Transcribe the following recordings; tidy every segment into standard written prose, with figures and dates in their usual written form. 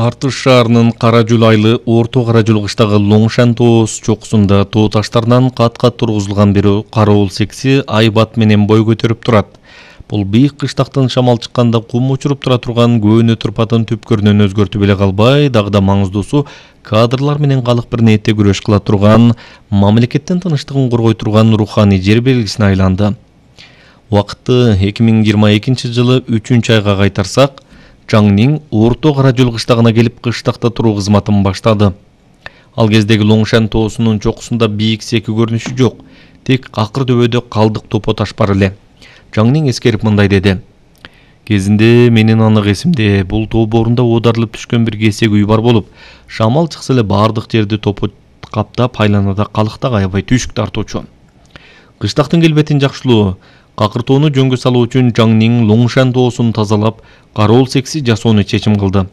Артыш шаарынын Каражул айылы Орто Каражул кыштагы Лоңшан тоос чокусунда тоо таштардан кат-кат тургузулган бир кароол секси айбат менен бой көтөрүп турат. Бул бийик кыштактан шамал чыкканда кум учуруп тура турган көөнө турпатын түпкөрүнөн өзгөртүп эле калбай, дагы да маңыздуусу кадрлар менен калык бирнете күрөш кыла турган, мамлекеттин тынчтыгын коргой турган руханий жер белгисине айланды. Убакытты 2022-жылы 3-айга кайтарсак, Жаңнин Орто Каражул кыштагына келип кыштакта туруу кызматын баштады. Ал кездеги Лоңшан тоосунун чокусунда бийик секи көрүнүшү жок, тек акыр дөбөдө калдык топо таш бар эле. Жаңнин эскерип мындай деди: "Кезинде менин анык эсимде, бул тоо боорунда оодарылып түшкөн бир кесек үй бар болуп, шамал чыкса эле бардык жерди топо каптап, айланада калыкта аябай түйшүк тартуучу. Кыштактын келбетин жакшылоо, какыртоону жөнгө салуу үчүн Жаңнин Лоңшан тоосун тазалап, кароол секси жасоону чечим кылды.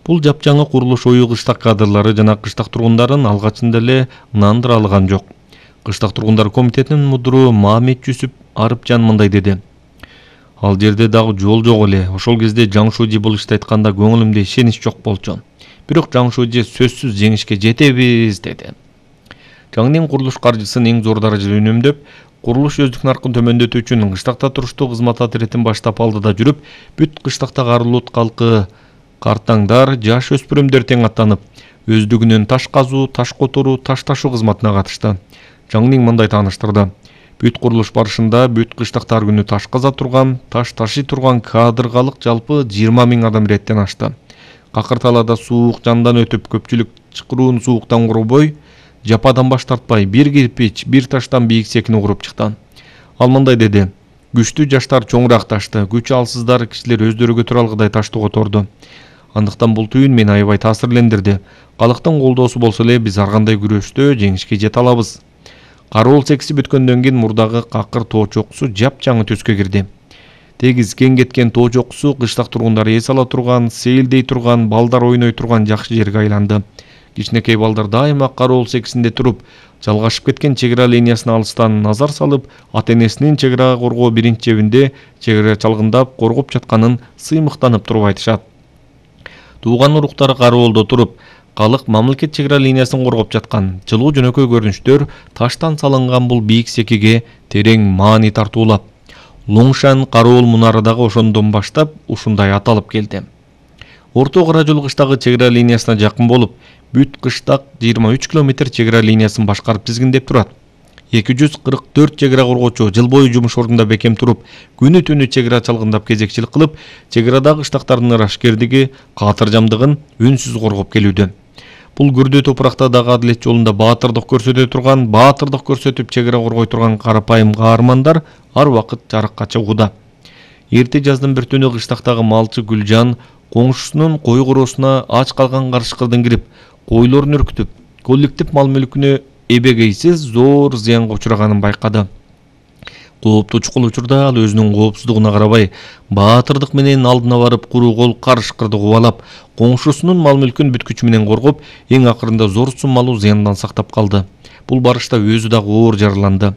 Бул жапжаңы курулуш ою кыштак кадрлары жана кыштак тургундарын алгачында эле ынандыра алган жок. Кыштак тургундар комитетинин мудуру Мамет Жүсүп Арыпжан мындай деди: "Ал жерде дагы жол жок эле. Ошол кезде Жаңшуji бул ишти айтканда көңүлүмдө ишенич жок болчу. Бирок Жаңшуji сөзсүз жеңишке жетебиз" деди. Жаңнин курулуш каржысын эң зор даражада үнөмдөп, курулуш өздүк наркын төмөндөтүү үчүн кыштакта туруштуу кызмат отретин баштап алдыда жүрүп, бүт кыштактагы Арылут калкы, картаңдар, жаш өспүрүмдөр тең аттанып, өздүгүнөн таш казуу, таш которуу, таш ташуу кызматына катышты. Жаңнин мындай тааныштырды: "Бүт курулуш барышында бүт кыштакта ар күнү таш каза турган, таш ташый турган кадыргалык жалпы 20 000 адам иреттен ашты. Какырталада суук жандан өтүп, көпчүлүк чыкыруун сууктан корбой, жападан баш тартпай, бир кирпич, бир таштан бийик секини куруп чыкты." Ал мындай деди: "Күчтүү жаштар чоңураак ташты, күчү алсыздар кишилер өздөрү көтөрө алгыдай ташты которду. Андыктан бул түйүн мени аябай таасирлендирди. Калыктын колдоосу болсо эле биз ар кандай күрөштө жеңишке жете алабыз." Кароол секси бүткөндөн кийин мурдагы какыр тоо чокусу жапжаңы төскө кирди. Тегиз кең кеткен тоо чокусу кыштак тургундары эс ала турган, сейилдей турган, балдар ойной турган жакшы жерге айланды. Кичинекей балдар дайыма кароол сексинде туруп, жалгашып кеткен чек ара линиясына алыстан назар салып, ата-энесинин чек арага коргоо биринчи чебинде чек ара чалгындап коргоп жатканын сыймыктанып туруп айтышат. Тууган уруктары кароолдо туруп, калык мамлекет чек ара линиясын коргоп жаткан, жылуу жөнөкөй көрүнүштөр таштан салынган бул бийик секиге терең маани тартуулап, Лоңшан кароол мунары дагы ошондон баштап ушундай аталып келди. Орто Каражул кыштагы чек ара линиясына жакын болуп, бүт кыштак 23 километр чек ара линиясын башкарып тизгиндеп турат. 244 чек ара коргоочу жыл бою жумуш ордунда бекем туруп, күнү түнү чек ара чалгындап кезекчилик кылып, чек арадагы кыштактардын ырашкердиги, каатыржамдыгын үнсүз коргоп келүүдө. Бул күрдүү топуракта дагы адилет жолунда баатырдык көрсөтө турган, баатырдык көрсөтүп чек ара коргой турган карапайым каармандар ар убакыт жарыкка чыгууда. Эрте жаздын бир түнү кыштактагы малчы Гүлжан коңшусунун кой короосуна ач калган карышкырдын кирип, койлорун үркүтүп, коллектив мал мүлкүнө эбегейсиз зор зыянга учураганын байкады. Кооптуу чукул учурда ал өзүнүн коопсуздугуна карабай, баатырдык менен алдына барып куру кол карышкырды кубалап, коңшусунун мал мүлкүн бүт күчү менен коргоп, эң акырында зор суммалуу зыяндан сактап калды. Бул барышта өзү дагы оор жараланды.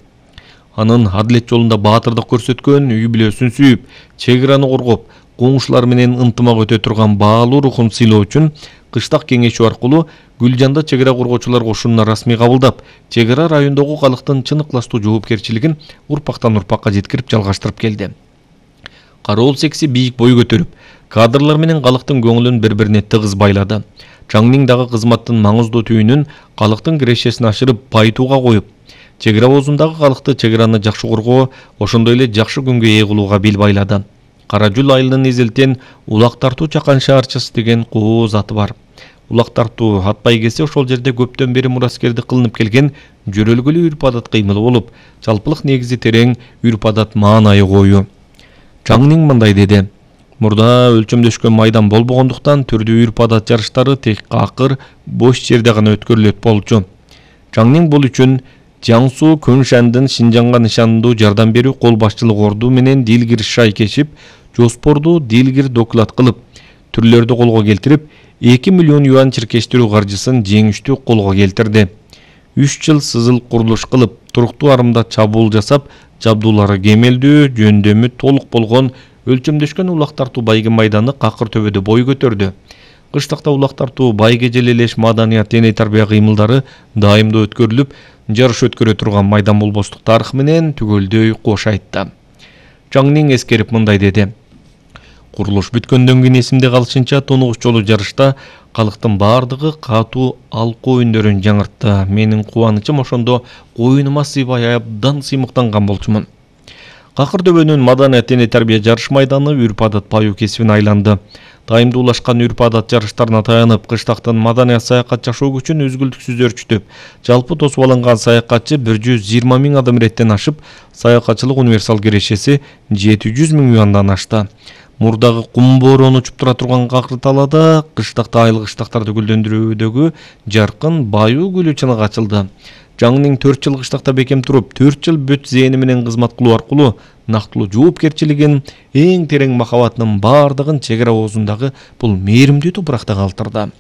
Анын адилет жолунда баатырдык көрсөткөн, үй бүлөсүн сүйүп, чек араны коргоп, коңшулар менен ынтымак өтө турган баалуу рухун сыйлоо үчүн кыштак кеңешүү аркылуу Гүлжанды чек ара коргоочулар кошунуна расмий кабылдап, чек ара райондогу калыктын чын ыкластуу жоопкерчилигин урпактан урпакка жеткирип жалгаштырып келди. Кароол секси бийик бой көтөрүп, кадрлар менен калыктын көңүлүн бири-бирине тыгыз байлады. Жаңнин дагы кызматтын маңыздуу түйүнүн калыктын кирешесин ашырып, байытууга коюп, чек ара оозундагы калыкты чек араны жакшы коргоо, ошондой эле жакшы күнгө ээ кылууга бел байлады. Каражул айылынын изилтен Улак тартуу чакан шаарчасы деген кооз аты бар. Улак тартуу ат байгеси ошол жерде көптөн бери мураскерди кылынып келген жөрөлгөлүү үрп-адат кыймыл болуп, жалпылык негизи терең үрп-адат маанайы коюу. Жаңнин мындай деди: "Мурда өлчөмдөшкөн майдан болбогондуктан түрдүү үрп-адат жарыштары тек акыр бош жерде гана өткөрүлөт болчу. Жаңнин бул үчүн Жаңсу Көншандын Шинжаңга нышандуу жардам берүү кол башчылык орду менен дилгир шай кешип, жоспорду дилгир доклад кылып, түрлөрдү колго келтирип, 2 миллион юан чиркештирүү каржысын жеңиштүү колго келтирди. 3 жыл сызыл курулуш кылып, туруктуу арымда чабуул жасап, жабдуулары кемелдүү, жөндөмү толук болгон өлчөмдөшкөн Улак тартуу байгы майданы какыр төбөдө бой көтөрдү. Кыштакта улак тартуу, байге желелеш, маданият, дене тарбия кыймылдары дайымдуу өткөрүлүп, жарыш өткөрө турган майдан болбостук тарыхы менен түгөлдөй кош айтты. Жаңнин эскерип мындай деди: курулуш бүткөндөн кийин эсимде калышынча тонугуч жолу жарышта калктын бардыгы катуу алкоо үндөрүн жаңыртты. Менин кубанычым ошондо коюнума сыйбай абдан сыймыктанган болчумун. Какыр дөбөнүн маданият, дене тарбия жарыш майданы үрп-адат баюу кесибине айланды. Дайымдуулашкан үрп-адат жарыштарына таянып, кыштактын маданият саякат жашоо күчүн үзгүлтүксүз өрчүтүп, жалпы тосуп алынган саякатчы 120 000 адам иреттен ашып, саякатчылык универсал кирешеси 700 000 юандан ашты. Мурдагы кум бороону учуп тура турган какыр талаада кыштакта айлык кыштактарды гүлдөндүрүүдөгү жаркын баюу гүлү чыныгы ачылды. Жаңнин 4 жыл кыштакта бекем туруп, 4 жыл бүт зээни менен кызмат кылуу аркылуу нактылуу жоопкерчилигин, эң терең махаббатынын бардыгын чек ара оозундагы бул мээримдүү топуракта калтырды.